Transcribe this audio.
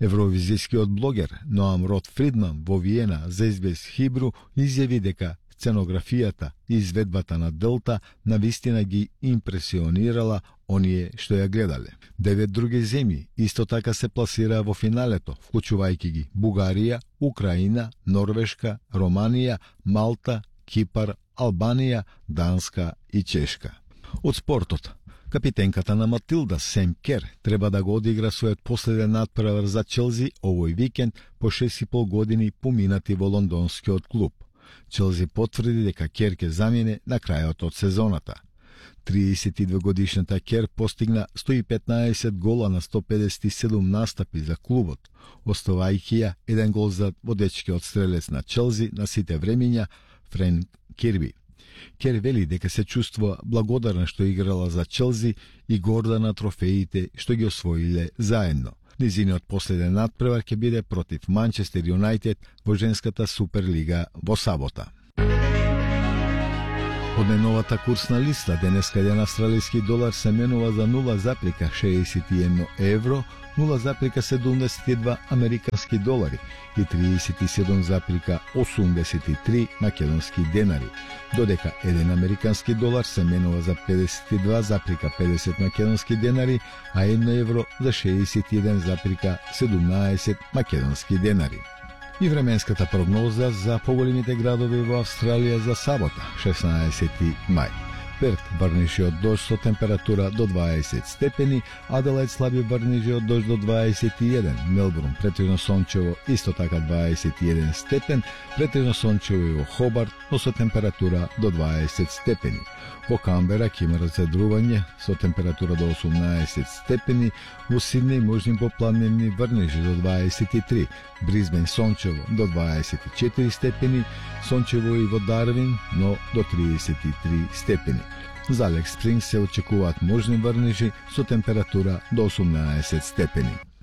Евровизискиот блогер Ноам Рот Фридман во Виена за SBS Хибру изјави дека сценографијата и изведбата на Делта навистина ги импресионирала оние што ја гледале. 9 други земји исто така се пласираа во финалето, вклучувајќи ги Бугарија, Украина, Норвешка, Романија, Малта, Кипар, Албанија, Данска и Чешка. Од спортот, капитенката на Матилда Сем Кер треба да го одигра својот последен натпревар за Челси овој викенд по 6,5 години поминати во лондонскиот клуб. Челси потврди дека Кер ќе замине на крајот од сезоната. 32-годишната Кер постигна 115 гола на 157 настапи за клубот, оставајќи ја еден гол за водечкиот стрелец на Челси на сите времиња Френк Кирби. Кер вели дека се чувствува благодарна што играла за Челси и горда на трофеите што ги освоиле заедно. Низиниот последен надпревар ќе биде против Манчестер Юнајтед во женската Суперлига во сабота. Од најновата курсна листа, денеска еден австралиски долар се менува за 0,61 евро, 0,72 американски долари и 37,83 македонски денари, додека еден американски долар се менува за 52,50 македонски денари, а 1 евро за 61,17 македонски денари. И временската прогноза за поголемите градови во Австралија за сабота, 16 мај. Перт врнежи од дожд со температура до 20 степени, Аделаид слаби врнежи од дожд до 21, Мелбурн претежно сончево исто така 21 степен, претежно сончево и во Хобарт, но со температура до 20 степени. Во Камбера ќе има разедрување со температура до 18 степени, во Сиднеј можни попладневни врнежи до 23, Бризбен сончево до 24 степени, сончево и во Дарвин, но до 33 степени. За Алекс Спрингс се очекуваат можни врнежи со температура до 18 степени.